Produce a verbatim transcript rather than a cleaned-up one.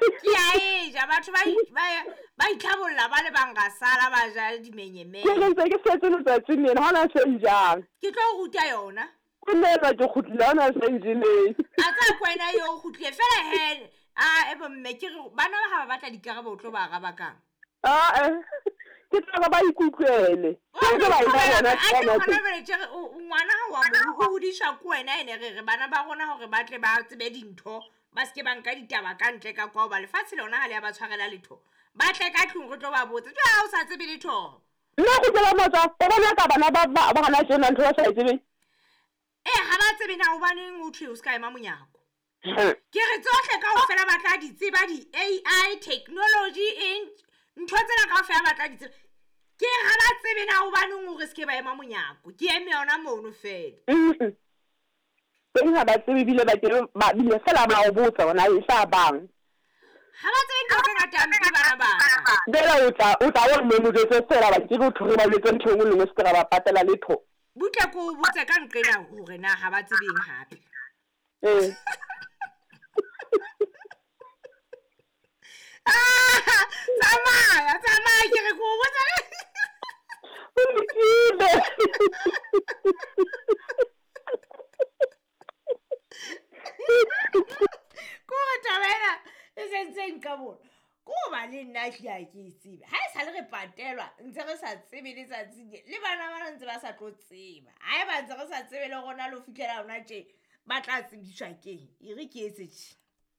Ke a e ja batho ba ba itlhabolla ba le bang ga sala ba ja dimenyemenye. Ke re ntse ke setse letsatsing lena, ha hona se njang. Ke tlo o ruta yona. Ke nna ke kgutlile, ha hona se njeleng. A tsaya ko wena eo o kgutlile fela he a e bomme ke re bana ba ha ba batla dikarabo o tlo ba araba kang? Ah eh. Ke tla ba ikutlwele. Ke ba bona ngwana ha wa mo o hodiswa ke wena ene re re bana ba rona hore ba tle ba tsebe dintho ba seke ba nka ditaba ka ntle ka kwa hoba lefatshe lona ha le ya ba tshwarela letho. Ba tle ka tlung re tlo ba botsa. Jwale ha o sa tsebe letho. Nna go tseba motsa, o bona ka bana ba ba ba hana tjena ntho ba sa e tsebeng. Eh ha ba tsebe na hobaneng o thwe o ska ema monyako. Ke re tsohle kaofela ba tla di tseba di-A I technology eng ntho tsena kaofela ba tla di tseba. Ke re ha ba tsebe na hobaneng hore se ke ba ema monyako. Ke eme yona mono fela. Teng ha ba tsebe ebile ba ke ba bile fela ba o botsa hore na e tla bang. Ha ba tsebe ntho tse ngata mpe bana bana. Fela o tla o tla o mo jwetse fela ba ke go thore ba letse ntho e nngwe le nngwe se ke ra ba patela letho. Butle ko o botse ka nqena hore na ha ba tsebeng hape. Eh. Ah, tsamaya, tsamaya ke re ko o botsa. O lokile. Ko re taba ena e sentse nka bona. Ko ba le nna ke a ke e tsebe. Ha e sale re patelwa ntse re sa tsebe letsatsi le le bana bana ntse ba sa tlo tseba. Ha eba ntse re sa tsebe le rona le ho fihlela hona tje ba tla tsebiswa keng. E re ke etse tje.